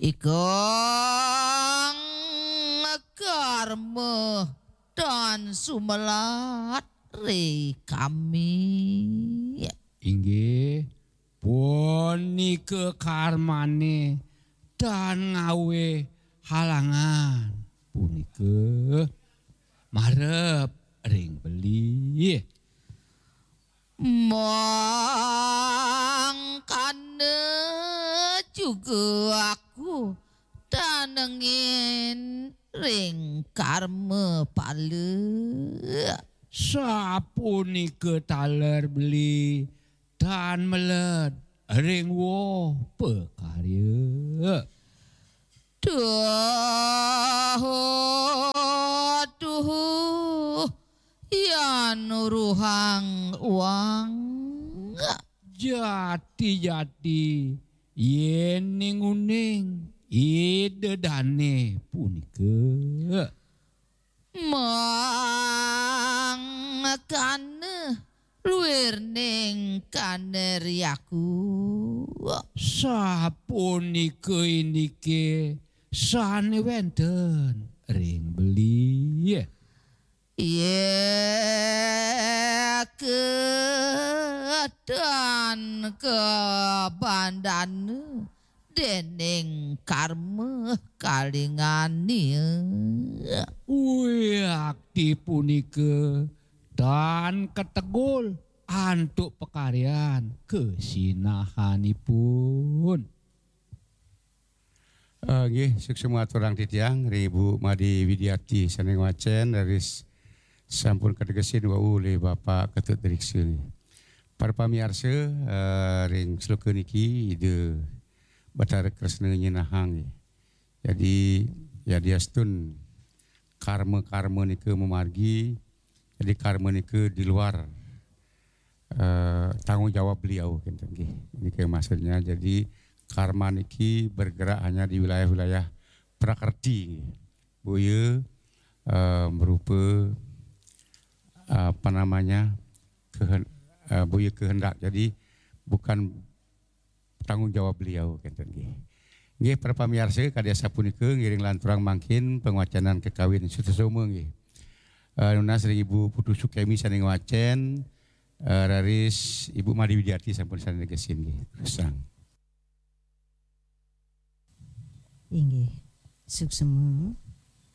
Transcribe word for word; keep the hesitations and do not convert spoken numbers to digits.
Ikang karma dan sumelat ri kami. Inggih, punika karmane dan ngawe halangan punika marep ring beli. Mangkana juga aku tanengin ring karma pala. Sapunika taler beli tan meled ring woh pakarya. Duh, duh, yan uruhang uang. Jati-jati, yening uning Ida dane punika. Mangkana luirning kaneryaku. Sapunika indike sane wenten ring beli. Ye kedan kebandana dening karma kalingania. Wiakti punika tan ketegul antuk pakaryan kesinahanipun. Eh, nggih, suksma aturang titiang ring Ibu Made Widiati sane ngwacen, raris sampun kategesin wau olih Bapak Ketut Riksa. Para pamiarsa, eh, ring sloka niki Ida Batara Kresna nyinahang, nggih. Jadi, yadiastun karma-karma nika mamargi, jadi karma nika di luar, eh, tanggung jawab beliau, kenten nggih. Nika maksudnya, jadi karma niki bergerak hanya di wilayah-wilayah prakerti, nggih. Boya, eh, merupa, apa namanya, kehen-, eh, boya kehendak. Jadi bukan tanggung jawab beliau, kenten nggih. Nggih, para pamiarsa, kadi asapunika ngiring lanturang mangkin pangwacanan kakawin Sutasoma nggih. Eh, nunas ring Ibu Putu Sukemi sane ngwacen, eh, raris Ibu Made Widiati sampun sane negesin nggih. Terusang. Inggih. Suksma.